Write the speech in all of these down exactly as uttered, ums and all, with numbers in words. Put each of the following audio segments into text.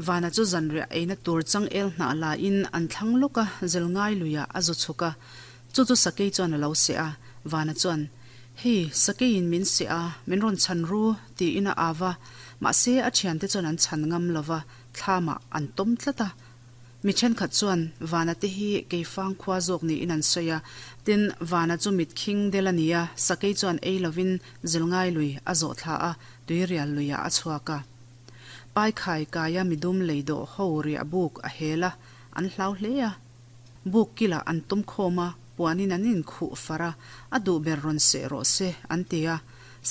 Vana chu zanriah eina tur changel hnah la in an thlang lawka Zelngai luiah a zu chhuk a, chu chu sakei chuan a lo seh a. Vana chuan, Hei, sakeiin min seh a, min rawn chhan ru, tiin a au va. Mahse, a thiante chuan an chhan ngam lo va, thlamah an tawm tlat a. Mi thenkhat chuan Vana te hi Keifang khua zawk niin an sawi a, tin, Vana chu mit khing del a ni a, sakei chuan ei lovin Zelngai lui a zawh thla a, Tuirial luiah a chhuak a. Paikhai kaia midum lei dawh ho riah buk a hel a, an hlau hle a. Buk kilah an tum khawm a, puanin an inkhuh far a, a duh ber rawn seh rawh se, an ti a.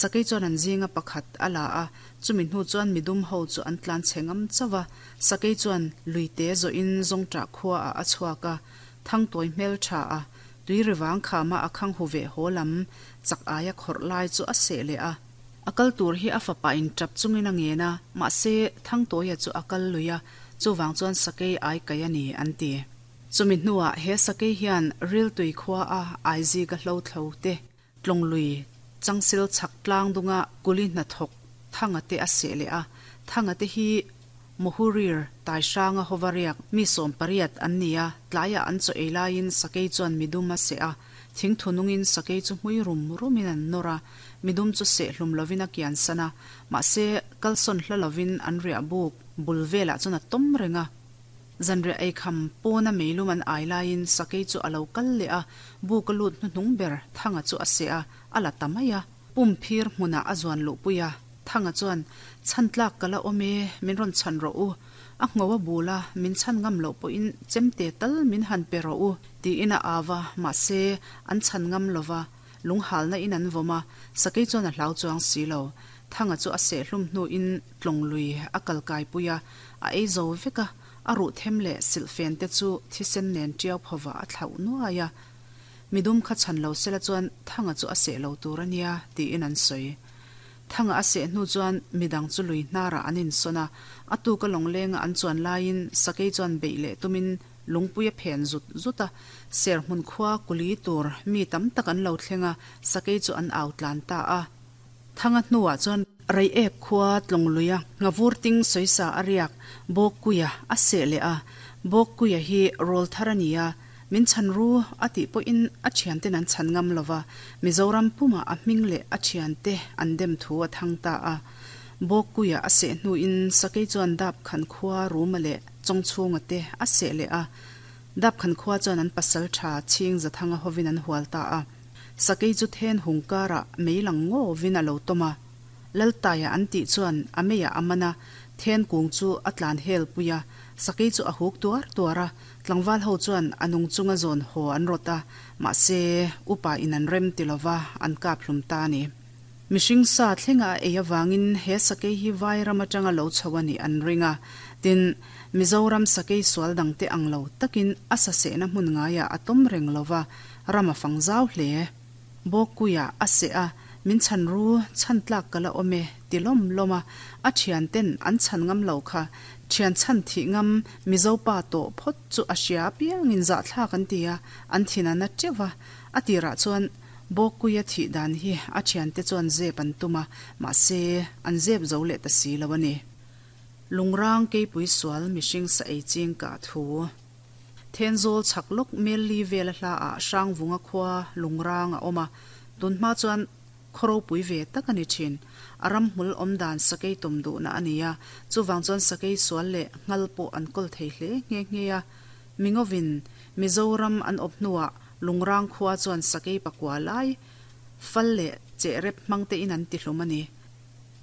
Sakei chuan an zinga pakhat a la a, chumi hnu chuan midum ho chu an tlan chhe ngam chauh a. Sakei chuan luite zawhin Zawngṭah khuaah a chhuak a, thangtawi hmel tha a, tui rivang khama a khang hu ve haw lam chak aia khawrh lai chu a seh leh a. A kal tur hi a fapa in tap chungin a ngen a, mahse Thangtawia chu a kal lui a, chuvang chuan sakei ai kai a ni an ti. Chumi hnuah he sakei hian Riltui khua a Aizika hlo thlo te, Tlawnglui Changsil chhak tlang dunga kuli hnathawk Thanga te a seh leh a, Thanga te hi Mohurir Taihranga hova riak mi sawm pariat an ni a, tlaiah an chaw ei laiin sakei chuan midum a seh a, thingthu nungin sakei chu hmui rum rumin an nawr a, midum chu seh hlum lovin a kian san a, mahse kalsawn hla lovin an riah buk bul velah chuan a tawm reng a. Zanriah eikham pawna meilum an ai laiin sakei chu a lo kal leh a, buk a lut hnuhnung ber Thanga chu a seh a, a la ta mai a. Pum phir hmunah a zuan luhpui a, Thanga chuan, Chhan tlak ka la awm e, min rawn chhan rawh u. A ngho a bul a, min chhan ngam loh pawhin chemte tal min han pe rawh u, tiin a au a, mahse, an chhan ngam lo va, lunghalna in an vawm a, sakei chuan a hlau chuang si lo. Thanga chu a sehhlum hnuin tlawng lui a kal kaipui a, a ei zo vek a, a ruh them leh silhfen te chu thisen nen tiau phawvah a thlauh nuai a. Midum kha chhan lo sela chuan Thanga chu a seh lo tur a nia, tiin an sawi. Thanga a seh hnu chuan midang chu lui hnarah an insawn a, a tuka lawnglenga an chuan laiin sakei chuan beih leh tumin lungpui a phen zut zut a, serhmun khua kuli tur mi tam tak an lo thleng a, sakei chu an au tlan ta a. Thanga hnuah chuan Reiek khua Tlawngluia nghavur ting sawisa a riak Bawkkuia a seh leh a, Bawkkuia hi rawl thar a ni a, min chhan ru a tih pawhin a thianten an chhan ngam lo va, Mizoram pumah a hming leh a thiante an dem thu a thang ta a. Bawkkuia a seh hnuin Sakei chuan Dapkhan khua Ruma leh Chawngchhunga te a seh leh a, Dapkhan khua chuan an pasal tha Chhing Zathanga hovin an hual ta a. Sakei chu then hung karah mei lang ngawvin a lo tawm a. Laltaia an tih chuan a meiah a man a, then kung chu a tlan hel pui a, sakei chu a huk tuar tuar a, tlangval ho chuan a nung chunga zawn haw an rawt a, mahse upa in an rem ti lova an kap hlum ta a ni. Mihring sa thlenga a ei avangin he sakei hi vai ram atanga lo chho a nih an ring a, tin, Mizoram sakei sual dangte ang lo takin a sasehna hmun ngaiah a tawm reng lova, ram a fang zau hle. Bawkkuiah a seh a, min chhan ru, chhan tlak ka la awm e, ti lawm lawm a, a thian ten an chhan ngam lo kha, thian chhan thih ngam Mizo pa tawh phawt chu a hria apiangin zahthlak an ti a, an thin a na teuh va, a tirah chuan Bawkkuia thih dan hi a thiante chuan zep an tum a, mahse an zep zo leh ta si lo a ni. Lungrang keipui sual mihring sa ei ching kah thu. Thenzawl chhak lawk Melli vela hla ah Hrangvunga khua Lungrang a awm a, tun hma chuan khaw ropui ve tak a ni thin. A ramhmul awm dan sakei tawm duhna a ni a, chuvang chuan sakei sual leh nghal pawh an kawl thei hle nghe nghe a. Mingovin Mizoram an awp hnuah Lungrang khua chuan sakei pakua lai fal leh chehrep hmang tein an tihlum a ni.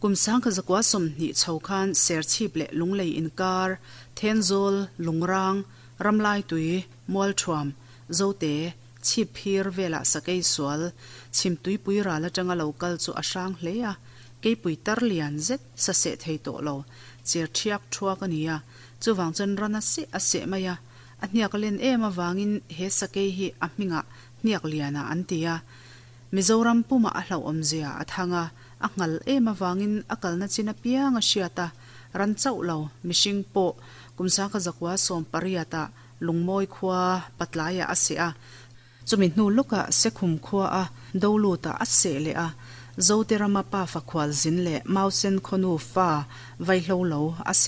Kum sangkha zakua sawmhnih chho khan Serchhip leh Lunglei inkar, Thenzawl, Lungrang, Ramlaitui, Mualthuam, Zote, Chhipphir velah sakei sual, Chhimtuipui ral atanga lo kal chu a hrang hle a, keipui tar lian zet sa seh thei tawh lo, cher thiak thuak a ni a, chuvang chuan ran a seh a seh mai a, a hniak a len em avangin he sakei hi a hmingah hniak liana an ti a, Mizoram pumah a hlauhawmzia a thang a, a nghal em avangin a kalna chin apiang a hriat a, ran chauh lo, mihring pawh kum sangkha zakua sawm pariatah Lungmawi khua patlaiah a seh a, chumi hnu lawkah Sekhum khua a Dolutah a seh leh a, Zote rama pa fakhual zin leh Mausen khawnu fa vaihlo lo a seh.